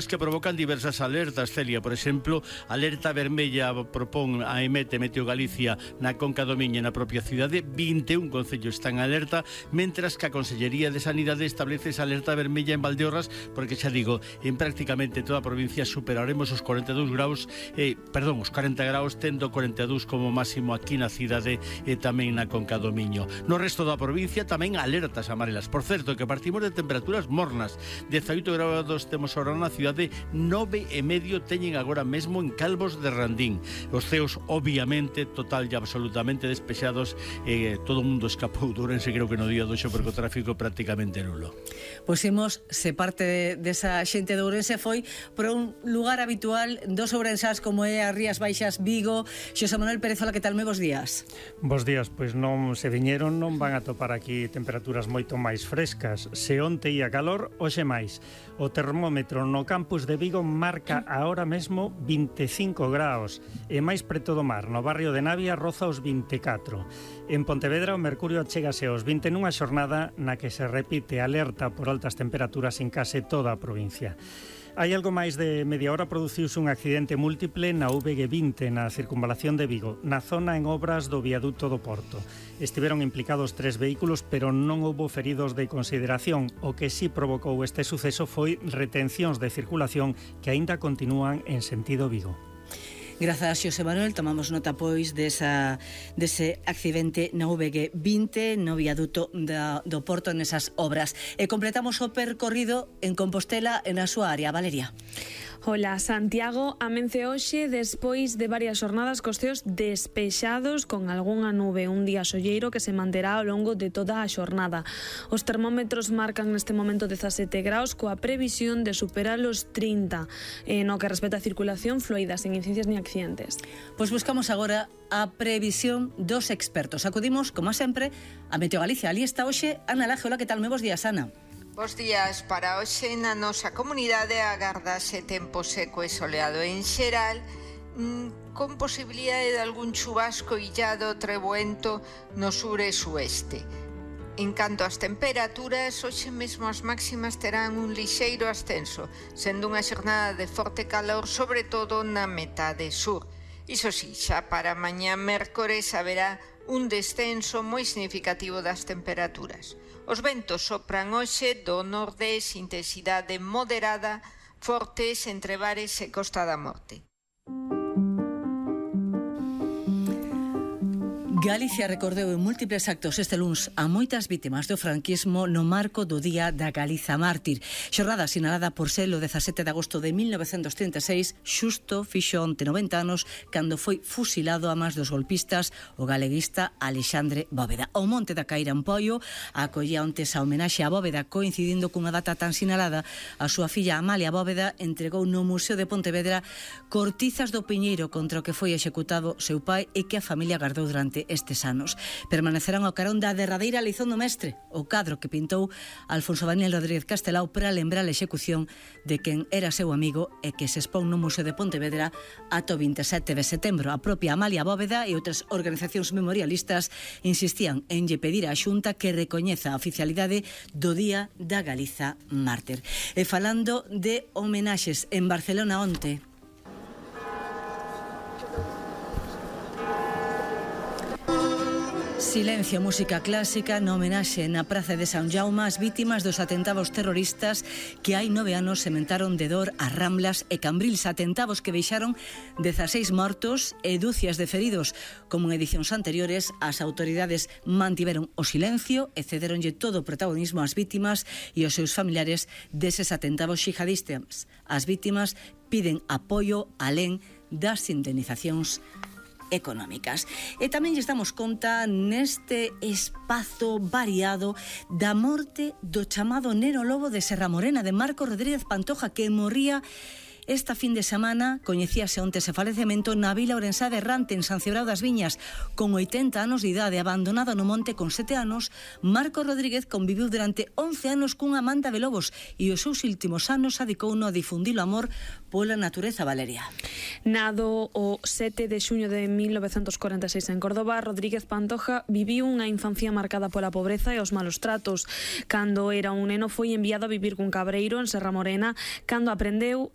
que provocan diversas alertas, Celia. Por exemplo, alerta vermella propón a EMET, Meteo Galicia, na Conca do Miño e na propia cidade. 21 concellos están en alerta, mentras que a Consellería de Sanidade establece esa alerta vermella en Valdeorras, porque xa digo, en prácticamente toda a provincia superaremos os 42 graus, os 40 graus, tendo 42 como máximo aquí na cidade e tamén na Conca do Miño. No resto da provincia tamén alertas amarelas. Por certo, que partimos de temperaturas mornas. 18 graus temos ahora na cidade, 9,5 teñen agora mesmo en Calvos de Randín. Os ceos, obviamente, total e absolutamente despexados. Todo o mundo escapou de Ourense, creo que no día do xo, porque o tráfico prácticamente nulo. Pois imos, se parte desa xente de Ourense foi por un lugar habitual dos ourensás como é as Rías Baixas, Vigo. Xosé Manuel Pérez, hola, que tal? Moi bons días. Bos días, pois non se viñeron, non van a topar aquí temperaturas moito máis frescas. Se onte ia calor, hoxe máis. O termómetro no campus de Vigo marca ahora mesmo 25 graus e máis preto do mar, no barrio de Navia roza os 24. En Pontevedra o mercurio chegase aos 20 nunha xornada na que se repite alerta por altas temperaturas en case toda a provincia. Hai algo máis de media hora produciuse un accidente múltiple na VG20 na circunvalación de Vigo, na zona en obras do viaduto do Porto. Estiveron implicados 3 vehículos, pero non houbo feridos de consideración. O que sí provocou este suceso foi retencións de circulación que aínda continúan en sentido Vigo. Grazas, Xosé Manuel. Tomamos nota, pois, dese accidente na VG20 no viaduto do Porto nesas obras. E completamos o percorrido en Compostela e na súa área. Valeria. Hola, Santiago amence hoxe despois de varias xornadas cos ceos despexados con algunha nube, un día solleiro que se manterá ao longo de toda a xornada. Os termómetros marcan neste momento 17 graus coa previsión de superar os 30 no que respecta a circulación fluida, sen incidencias ni accidentes. Pois buscamos agora a previsión dos expertos. Acudimos, como sempre, a Meteo Galicia. Ali está hoxe Ana Laje. Hola, que tal? Moi bons días, Ana. Bos días. Para hoxe na nosa comunidade agardase tempo seco e soleado en xeral, con posibilidade de algún chubasco illado treboento no sur e sueste. En canto ás temperaturas, hoxe mesmo as máximas terán un lixeiro ascenso, sendo unha xornada de forte calor, sobre todo na metade sur. Iso si, xa para mañá mércores haberá un descenso moi significativo das temperaturas. Os ventos sopran hoxe do nordés, intensidade moderada, fortes entre Bares e Costa da Morte. Galicia recordeu en múltiples actos este luns a moitas vítimas do franquismo no marco do Día da Galiza Mártir. Xornada sinalada por ser o 17 de agosto de 1936, xusto fixo onte 90 anos cando foi fusilado a mans dos golpistas o galeguista Alexandre Bóveda. O Monte da Caira en Poio acollía onte esa homenaxe a Bóveda, coincidindo cunha data tan sinalada. A súa filla Amalia Bóveda entregou no Museo de Pontevedra cortizas do piñeiro contra o que foi executado seu pai e que a familia guardou durante estes anos. Permanecerán ao carón da derradeira lición do mestre, o cadro que pintou Alfonso Daniel Rodríguez Castelao para lembrar a execución de quen era seu amigo e que se expón no Museo de Pontevedra ata o 27 de setembro. A propia Amalia Bóveda e outras organizacións memorialistas insistían en lle pedir á Xunta que recoñeza a oficialidade do Día da Galiza Mártir. E falando de homenaxes, en Barcelona onte silencio, música clásica na homenaxe na Praza de San Jaume ás vítimas dos atentados terroristas que hai 9 anos sementaron de dor as Ramblas e Cambrils, atentados que deixaron 16 mortos e dúcias de feridos. Como en edicións anteriores, as autoridades mantiveron o silencio e cederonlle todo o protagonismo ás vítimas e aos seus familiares deses atentados xihadistas. As vítimas piden apoio alén das indemnizacións económicas. E tamén lle damos conta neste espazo variado da morte do chamado Neno Lobo de Serra Morena, de Marcos Rodríguez Pantoja, que morría Esta fin de semana coñecíase onte ese falecemento na vila ourensá de Rante, en San Cibrao das Viñas. Con 80 anos de idade, abandonado no monte con 7 anos, Marco Rodríguez conviviu durante 11 anos cunha manta de lobos e os seus últimos anos adicouno a difundir o amor pola natureza, Valeria. Nado o 7 de xuño de 1946 en Córdoba, Rodríguez Pantoja viviu unha infancia marcada pola pobreza e os malos tratos. Cando era un neno foi enviado a vivir cun cabreiro en Serra Morena, cando aprendeu